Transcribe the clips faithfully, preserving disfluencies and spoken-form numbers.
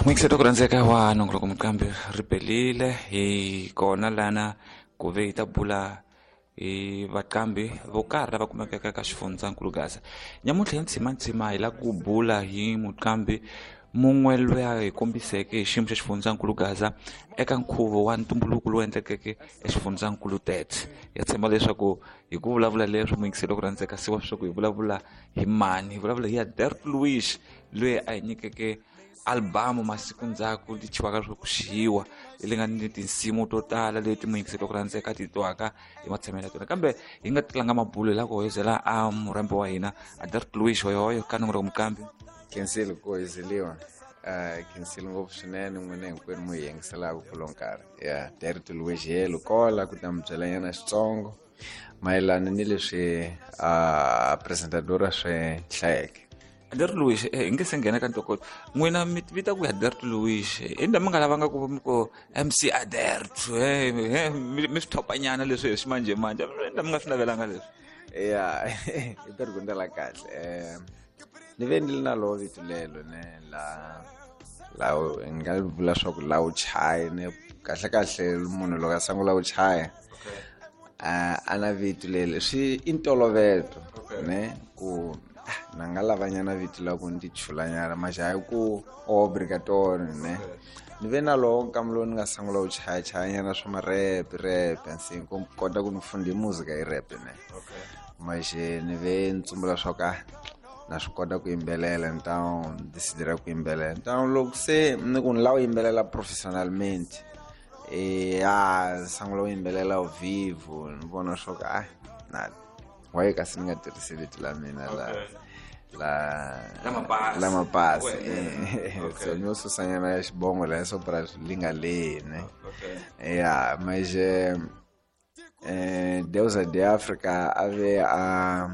N'wingiseti ku rhandzeka wa nongoloko muqambi ri pelile hi kona lana ku ve hi ta bula hi vaqambi vo karhi lava kumekaka ka xifundzankulu Gaza. Nyamuntlha hi ntsimantsima hi lava ku bula hi muqambi mun'we loyi a hi kombiseke hi xiyimo xa xifundzankulu Gaza eka nkhuvo wa ntumbuluko lowu endlekeke exifundzankulu Tete. Ya tshemba leswaku hi ku vulavula leswo muyingiseli ku rhandzeka siwa leswaku hi vulavula hi mani, hi vulavula hi Aderto Luís loyi a hi nyikeke albamu masiku ndzhaku li chiwaka leswaku xiwa leyi nga ni tinsimu to tala leti muyingiseli ku rhandzeka ti twaka hi matshamelo ya tona. Kambe hi nga tlanga mabulo hi lava ku hoyozela a murhambi wa hina Aderto Luís hoyohoyo ka nongoloko muqambi. Khensile ku hoyozeliwa, uh, khensile ngopfu swinene n'wina hinkwenu mu hi yingiselaka kulo nkarhi. Ya Aderto Luís helo kola ku ta mi byela nyana xitsongo mayelana ni leswi a apresentadora swi hlayeke. Aderto Luís, hi nge se nghena ka ntokoto n'wina mi vita ku Aderto Luís i ndza mi nga lavanga ku mi ku M C Aderto, mi swi thopanyana leswi hi ximanjhemanjhe, i ndza mi nga swi navelanga leswi? Ya i pergunta la kahle. um ni ve ni ri na lowo vito lelo ne la la ni nga vula swa ku la wu chaya ne kahle kahle munhu loko a sungula ku chaya a na vito leli swi i ntolovelo ne ku na nga lavanyana vito la ku ni tichulanyana mas hayi ku obrigatorio ne. Ni ve na lowo nkama lowu ni nga sungula ku chayachayanyana swa ma-rap rap nsi ku kota ku ni funda muzika hi rap ne. Mas ni ve ni tsumbula swa ku na swi kota ku yimbelela, então decidira ku yimbelela. Então loko se ni ku ni lava ku yimbelela profissionalmente, e a sungula ku yimbelela ao vivo, ni vona swa ku ah na why kasi ni nga tirhisi vito la mina la la la mapasi. So ni yo susanyana ya xibongo la swo pra li nga lehi ne. Ya mas eh Deusa de Africa a ve a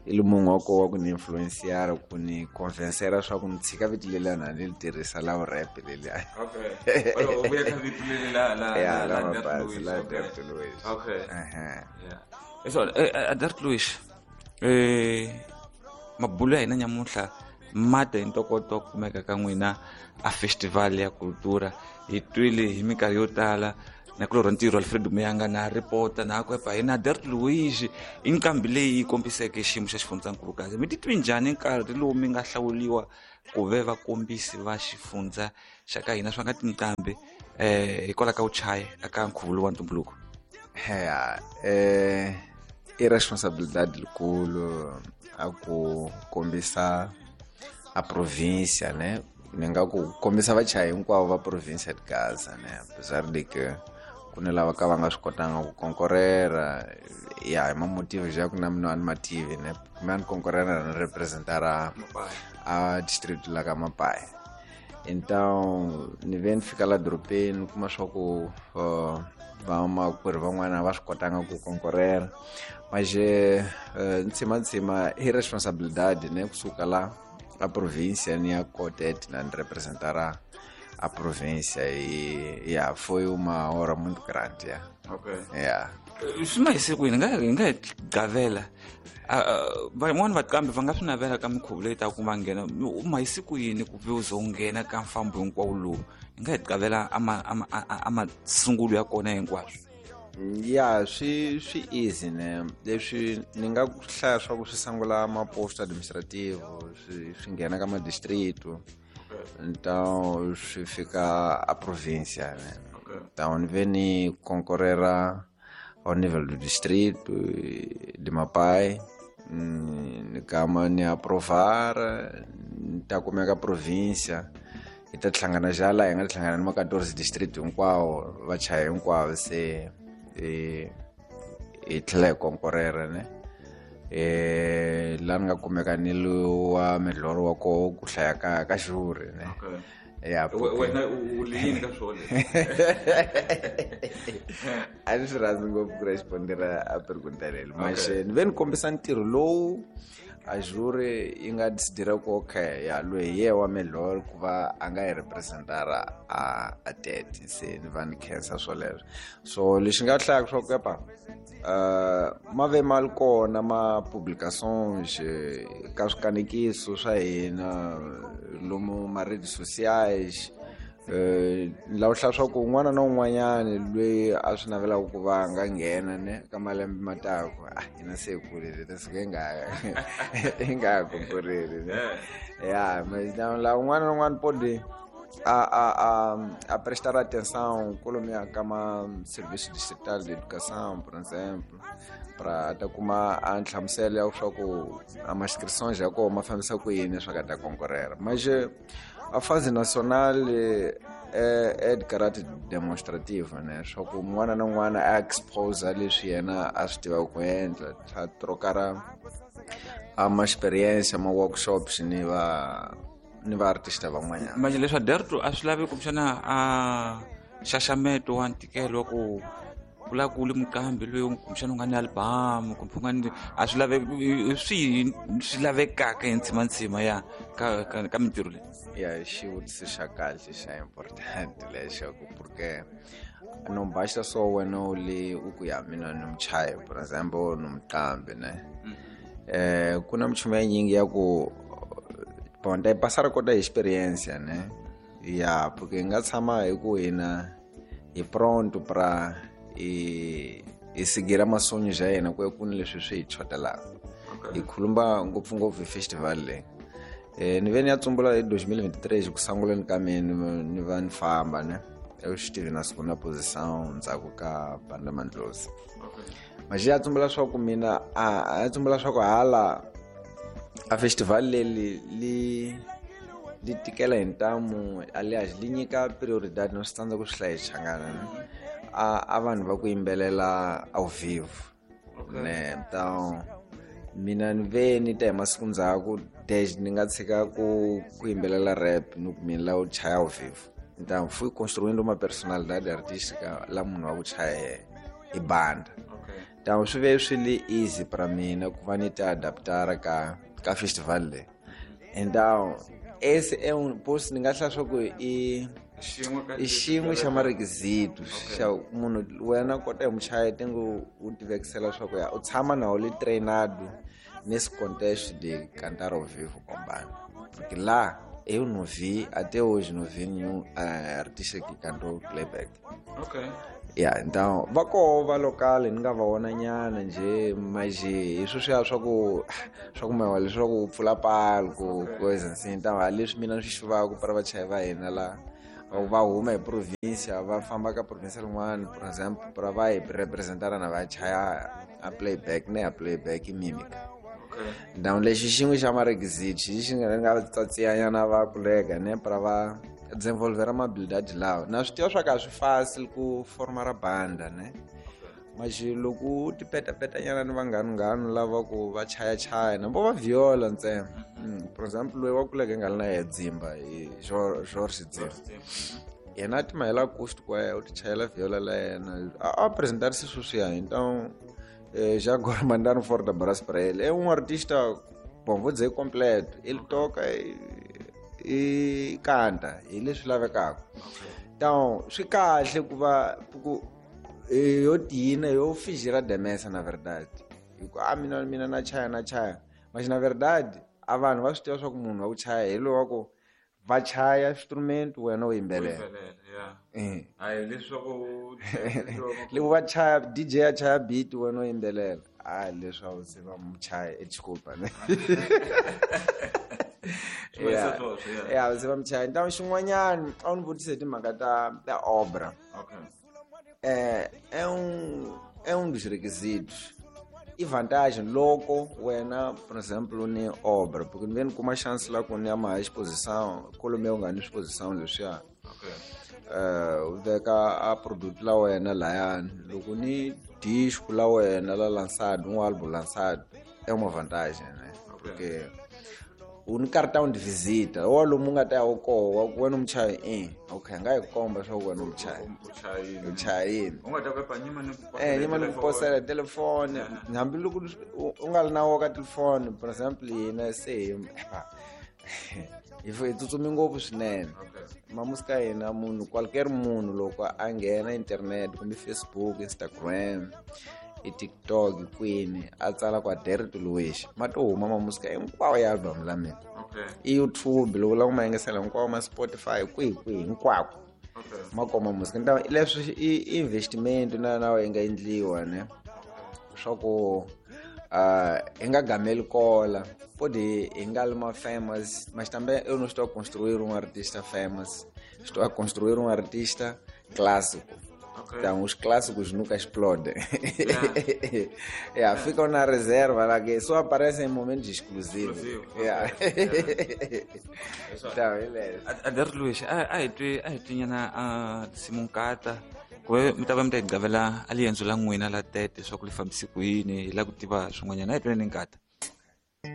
i le munhu wa koho wa ku ni influenciar ku ni convencera swa ku ni tshika vito leliya na ni li tirhisa la rap leliya. Okay. O vuya ka vito leli la la ya la mapasi la Aderto Luís. Okay. Yeah. So Aderto Luís, eh mabulo ya hina nyamuntlha ma ta hi ntokoto wa ku kumeka ka n'wina a festival ya cultura. Hi twile hi minkarhi yo tala na kulorha ntirho Alfredo Muyanga na ripota na ku epa hina Aderto Luís i nqambi leyi yi kombiseke xiyimo xa xifundzankulu Gaza. Mi titwi njhani nkarhi lowu mi nga hlawuriwa ku ve vakombisi va xifundza xa ka hina swa nga tinqambi eh hikwalaho ka ku chaya eka nkhuvo lowu wa ntumbuluko? Ya eh i responsabilidade likulu a ku kombisa a província ne, ni nga ku kombisa vachayi hinkwavo va província de Gaza ne, apesar de que ku ni lava ka va nga swi kotanga ku konkorera ya hi mamotivo ja ku na mina a ni mativi ne, kumbe a ni konkorera ni representara a district la ka Mapai. Então ni ve ni fika la dorobeni ni kuma swa ku uh, vamakwerhu van'wana va swi kotanga ku konkorera, mas ntsimantsima i responsabilidade ne kusuka la a província ni ya Cotet na ni representara a província e yeah, foi uma hora muito grande. Yeah. Okay. Yeah. Swi ma hi siku yini nga hi nga hi gavela van'wani vaqambi va nga swi navela ka minkhuvo leyi taka ku va nghena, u ma hi siku yini ku ve u ze u nghena ka mfambo hinkwawo lowu, hi nga hi gavela a ma a masungulo ya kona hinkwaswo? Ya swi swi easy ne, leswi ni nga ku hlaya swa ku swi sungula maposto administrativo swi swi nghena ka madistrito, então swi fika a província ne. Então ni ve ni konkorera ao nível do distrito de Mapai, ni kama ni aprovar ni ta kumeka província hi ta hlangana ja laha hi nga hlangana ni ma quatorze distrito hinkwawo vachayi hinkwavo se hi hi tlhela hi konkorera ne. Eh la ni nga kumeka ni wa melhoro wa koho ku hlaya ka ka xuri ne. Ya wena u liyini ka swona? A ni swi rhandzi ngopfu ku respondera a pergunta leli, mas ni ve ni kombisa ntirho lowu a juri yi nga decidira ku okay ya loyi hi ye wa melhoro ku va a nga hi representara a a Tete, se ni va ni khensa swoleswo. So lexi nga hlayaka swa ku epa uh ma ve ma li kona ma publications ka swikanekiso swa hina lomu ma redes sociais eh la u hla swa ku un'wana na un'wanyani loyi a swi navelaka ku va nga nghena ne ka malembe ma taku ah hina se kulile ta suka hi nga hi nga konkureli ne ya mas la un'wana na un'wana pode a a a a prestar atenção kolomiya kama serviço distrital de educação, por exemplo, para ta kuma a nhlamuselo ya swa ku a ma inscrições ya kona ma fambisa ku yini swa ka ta konkurrera. Mas a fase nacional é, é de caráter demonstrativo, né? Só que un'wana na un'wana a expose leswi yena a swi tivaka ku endla, a trocar a ma experiência, ma workshops ni va ni va artista van'wanyana. Manje leswa Derto a swi lavi kumbexana a nxaxameto wa ntikelo wa ku vula ku ri muqambi loyi kumbexana u nga ni album kumbe u nga ni a swi laveki swi swi lavekaka hi ntsimantsima ya ka ka, ka mintirho leyi. Ya xivutiso xa kahle xa important lexaku porque não basta só wena u le u ku ya mina ni muchayi por exemple ni muqambi ne eh ku na minchumu ya nyingi ya ku bom ta passar kota experiência né ya porque hi nga tshama hi ku hina hi pronto pra hi hi seguir masonho ya hina ku ya ku ni leswi swi hi chotelaka hi khulumba ngopfungopfu hi festival leyi eh ni ve ni ya tsumbula hi twenty twenty-three ku sunguleni ka mina ni va ni famba ne eu estive na segunda posição ndzhaku ka Banda Mandlozi mas ya tsumbula swa ku mina a ya tsumbula swa ku hala a festival leyi li li tikela hi ntamu aliás li nyika prioridade no swi tsandza ku swi hlaya xichangana ne a a vanhu va ku yimbelela ao vivo ne então mina ni ve ni ta hi masiku ndzhaku desde ni nga tshika ku ku yimbelela rap ni ku mina la u chaya ao vivo então fui construindo uma personalidade artística la munhu wa ku chaya hi banda então swi ve swi li easy para mina ku va ni ti adaptar ka ka festival leyi então esse é um post ni nga hlaya swa ku i i xin'we xa marequisito xa munhu wena kota hi muchayi tingo u tivekisela swa ku ya u tshama na u li treinado nesse contexto de cantar ao vivo com banda porque lá eu não vi até hoje não vi nenhum uh, artista que cantou playback. Okay. Yeah, então va koho va local ni nga va vona nyana nje mas hi sweswiya swa ku swa ku mewa leswaku u pfula palco coisa assim então leswi mina swi xuvaka para vachayi va hina la va huma hi província va famba ka província rin'wana por exemple para va hi representana na va chaya a playback ne a playback i mímica. Então lexi xin'we xa marequisito xi nga nga tsatsiyanyana va kolega ne para va desenvolver uma habilidade lawa na swi tiva swa ka swi fácil ku formar a banda ne mas loko u ti petapetanyana ni vanghanu lava ku va chayachaya na vo va viola ntsena por exemple loyi wa kuleke nga ri na ye dzimba hi George Dzimba yena a ti mahela acoustic wa yena u ti chayela viola la yena a apresentarse sweswiya então já agora mandaram fora da braço para ele é um artista bom vou dizer completo ele toca e, e canta hi leswi lavekaka então swi kahle ku va ku yo tina yo fingir a demência na verdade hi ku a mina mina na chaya na chaya mas na verdade a vanhu va swi tiva swa ku munhu wa ku chaya hi loyi wa ku va chaya instrumento wena u yimbelela loko va chaya D J a chaya beat wena u yimbelela a leswaku se va muchaya desculpa ne ya se va muchaya então xin'wanyana a wu ni vutise hi timhaka ta ta obra é é um é um dos requisitos e vantagem loko wena por exemplo ni obra porque ni kuma chance la ku ni ya ma exposição kolomiya u nga ni exposição leswiya eh u veka a produto la wena layani loko ni disco la wena la lançado um álbum lançado é uma vantagem né porque u ni cartão de visita ou lomu nga ta ya u koho wena muchayi i okay nga yi komba swa ku wena muchayi u chayini u nga ta ku nyima ni eh nyima ni ku posela telefone hambi loko u nga ri na wo ka telefone por exemple hina se hi hi tsutsumi ngopfu swinene mamusika hina munhu qualquer munhu loko a nghena internet kumbe Facebook Instagram i TikTok kwini a tsala kwa Derto Luiz ma to huma mamusika hinkwawo ya album la mina I YouTube loko la ku ma yingisela hinkwawo ma Spotify kwihi kwihi hinkwako ma koma music. Nta leswi i investment na na yi nga endliwa ne swa ku uh hi nga gameli kola pode hi nga li ma famous, mas também eu não estou a construir um artista famous, estou a construir um artista clássico. Okay. Então os clássicos nunca explodem. Yeah. Yeah, ficam na reserva lá que só aparecem em momentos exclusivos. Exclusivo. Yeah. Yeah. Então, beleza. Ader Luiz, a a hi twi a hi twi nyana a tinsimu nkata ku ve mi ta va mi ta hi gavela a liendzo la n'wina la tete swa ku li fambise ku yini hi la ku tiva swin'wanyana a hi tweni nkata.